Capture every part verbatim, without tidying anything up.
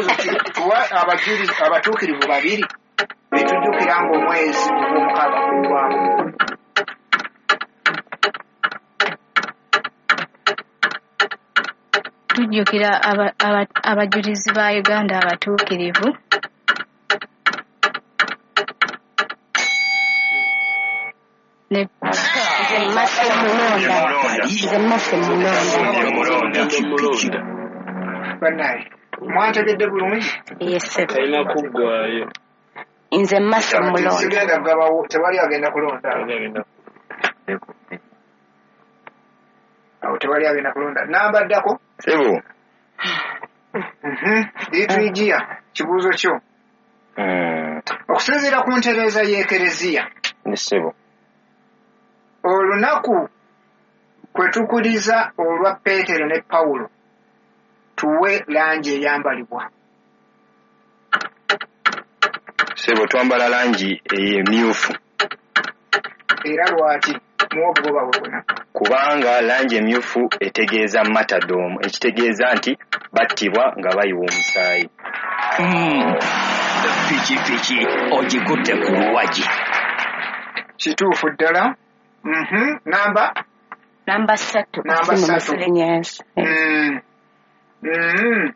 Ekibuuzo kiri tuwa abajulizi abatuukirivu babiri betujjukira ng'omwezi ogw'omukaaga guggwamu. Tujjukira abajulizi ba Uganda abatuukirivu. Nze Mulonda. Nze Mase Mulonda. Bannaye, mwantegedde bulungi? Yes, sir. Talina kuggwaayo. Nze Mase Mulonda. Sigenda kugabawo, tewali agenda kulonda. Awo tewali agenda kulonda. Namba ddako? Sebo. Liturujia, kibuuzo kyo. Okusinziira ku ntereeza y'Ekereziya. Sebo. Olunaku kwe tukuliza olwa Peetero ne Pawulo tuwe langi eyambalibwa. Sebo, twambala langi emyufu. Era lwaki? Muwe obugoba bwe bwonna. Kubanga langi emyufu etegeeza martyrdom, ekitegeeza nti battibwa nga bayiwa omusaayi. Pikipiki ogikutte ku luwagi. Kituufu ddala. Mhm. Namba? Namba ssatu. Namba ssatu. Yes. Mm. Mm.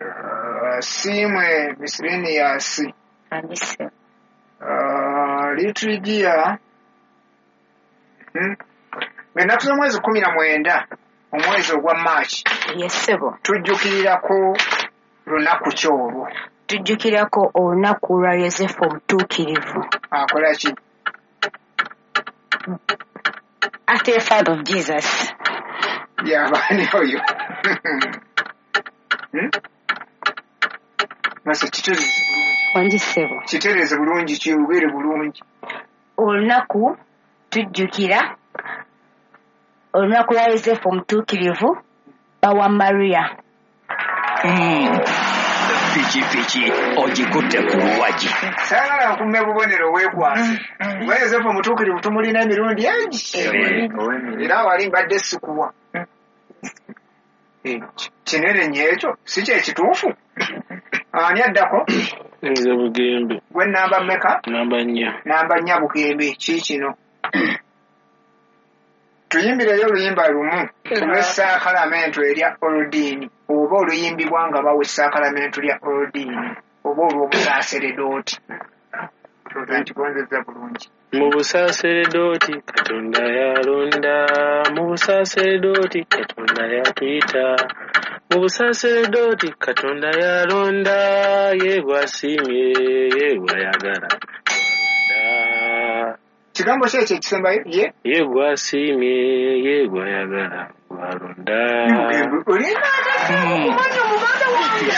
Uh, Simwe miscellaneous. Andise. Uh, liturujia. Mm. Ennaku z'omwezi kkumi na mwenda omwezi ogwa March. Yes, sebo. Tujjukirirako lunaku ki olwo? Tujjukirako olunaku lwa Yosefu omutuukirivu. Akola ki? After the father of Jesus. Yabaani oyo? Mase kitereeze bulungi. Wangi ssebo. Kitereeze bulungi, kiwugere bulungi. Olunaku tujjukira olunaku lwa Yosefu omutuukirivu bawa Maria. Pikipiki ogikutte ku luwagi. Saagala nkumme bubonero weekwase. Kuba Yosefu omutuukirivu tumulina emirundi egi. Era wali mbadde sikuwa. Kinene nnyo ekyo, si kye kituufu. Ani addako? Nze Bugembe. Gwe namba mmeka? Namba nnya. Namba nnya Bugembe, ki kino? Tuyimbireyo oluyimba lumu olw'essaakalamentu erya Oludiini oba oluyimbibwa nga bawa essaakalamentu lya Oludiini oba olw'obusaaseredooti. Ndowooza nkigonzezza bulungi. Mu busaaseredooti Katonda yalonda, mu busaaseredooti Katonda yatuyita, mu busaaseredooti Katonda yalonda, ye gw'asiimye, ye gw'ayagala. Kigambo ki ekyo ekisembayo? Ye? Ye gw'asiimye, ye gw'ayagala, gw'alonda. Olina okumanya omuganda wange.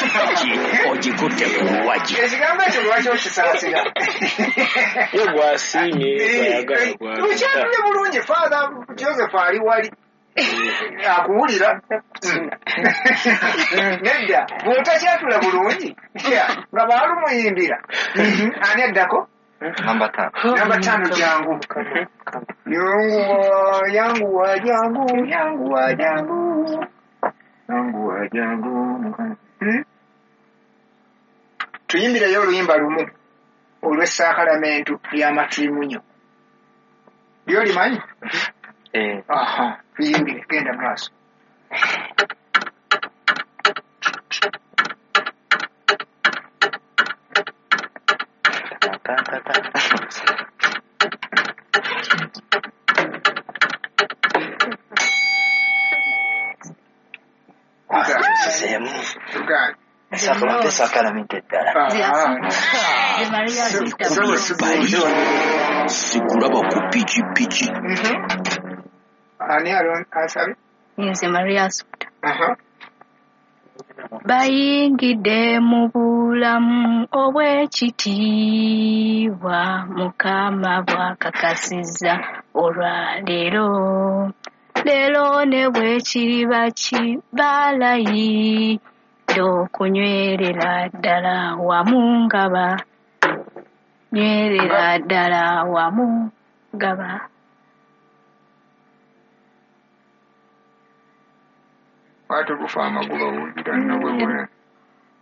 Ogikutte ku luwagi. Ekigambo ekyo lwaki okisaasira? Ye gw'asiimye, ye gw'ayagala, gw'alonda. Tukyatule bulungi, Father Joseph ali wali. Akuwulira. Nedda, bw'otakyatula bulungi, nga baalumuyimbira. Ani addako? Namba tano. Namba tano jangu. Yanguwa, yanguwa, jangu, yanguwa, jangu. Yanguwa, jangu. Hmm? Tuyimbireyo oluyimba lumu olw'essaakalamentu ly'amatirimunyo. Ly'olimanyi? Eh. Aha, tuyimbire, genda mu maaso. Sakalamento eddala. Sikulaba ku pikipiki. Ani asabye? Nze Maria Assumpta. Bayingidde mu bulamu obw'ekitiibwa Mukama bw'akakasizza olwaleero. Leero ne bwe kiriba kibalayidde okunywerera ddala wamu nga ba nywerera ddala wamu nga ba. Ate gufa amagoba wulira nno bwe bwe.